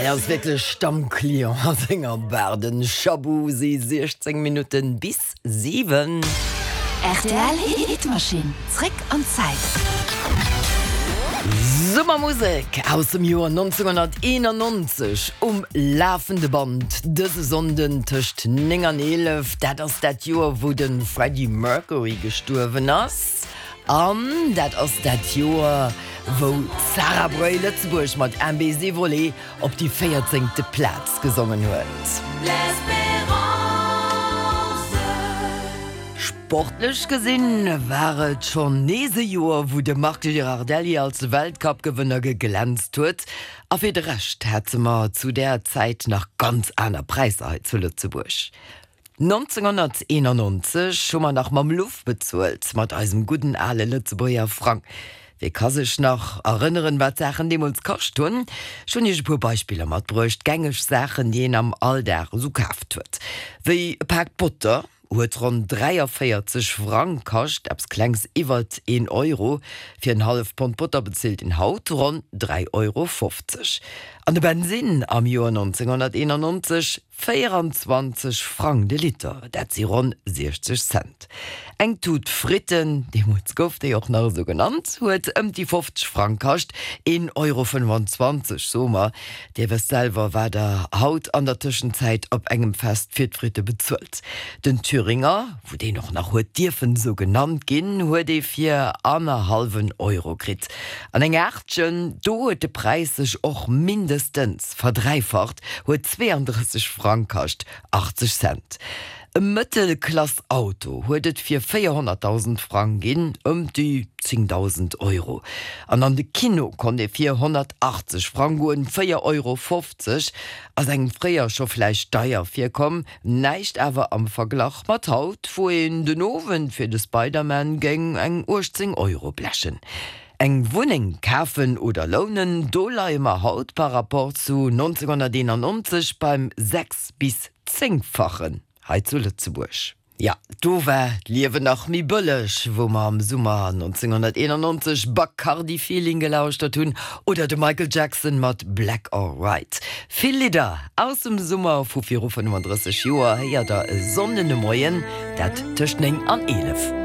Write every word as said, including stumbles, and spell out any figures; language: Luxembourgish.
Hien ass wierklech Stammclient a senger Bar, den Shabu. Si siechzéng Minutten bis siwen. Rtl Hitmaschinn, zréck an d'Zäit. Summermusek aus dem Joer nonzénghonnerteenannonzeg um lafende Band dëse Sonnden tëscht néng an eelef. Dat ass dat Joer, wou de Freddie Mercury gestuerwen ass. An dat ass dat Joer, wou d'Sarah Breuil Lëtzebuerg mat Un baiser volé op déi véierzéngte Plaz gesongen huet. Sportlech gesinn war et schonn nees e Joer, wou de Marc Girardelli als Weltcupgewënner geglänzt huet. A fir de Rescht hate mer zu där Zäit nach ganz aner Präisser hei zu Lëtzebuerg. nonzénghonnerteenannonzeg hu mer nach mam Luff bezuelt, mat eisem gudden ale Lëtzebuerger Frang. Wie ka sech nach erënneren, wat d'Saachen deemools kascht hunn? Ech hunn iech e puer Beispiller matbruecht, gängeg Saachen, déi een am Alldag esou kaaft huet. Wéi e Pak Botter huet ronn dräiavéierzeg Frang kascht, eppes klengs iwwert een Euro. Fir en halleft Pond Botter bezilt een haut ronn dräi Euro fofzeg. An de Bensinn am Joer nonzénghonnerteenannonzeg véieranzwanzeg Frang de Liter, dat si ronn siechzeg Cent. Eng Tut Fritten, deemools gouf déi och nach esou genannt, huet ëm déi fofzeg Frang kascht, een Euro fënnefanzwanzeg, soe mer. Dir wësst selwer, wat der haut an der Tëschenzäit op engem Fest fir d'Fritte bezuelt. Den Thüringer, wou deen och nach huet dierfen esou genannt ginn, huet ee fir annerhallwen Euro kritt. An eng Aachtchen, do huet de Präis sech och mindestens verdräifacht, huet zweeandrësseg Frang kascht, achtzeg Cent. E Mëttelklass-Auto huet et fir véierhonnertdausend Frang ginn, ëm déi zéngdausend Euro. An an de Kino konnt ee fir honnertachtzeg Frang goen, véier Euro fofzeg. Ass engem fréier scho vläicht deier virkomm, näischt awer am Verglach mat haut, wou een den Owend fir de Spider-Man géing eng uechtzéng Euro blechen. Eng Wunneng kafen oder lounen, do leie mer haut par rapport zu nonzénghonnerteenannonzeg beim sechs bis zéngfachen hei zu Lëtzebuerg. Jo, do war d'Liewen nach méi bëlleg, wou mer am Summer nonzénghonnerteenannonzeg Bacardi Feeling gelauschtert hunn oder de Michael Jackson mat Black or White. Vill Lidder aus dem Summer vu viru fënnefandrësseg Joer héiert der e Sonnden de Moien, dat tëscht néng an eelef.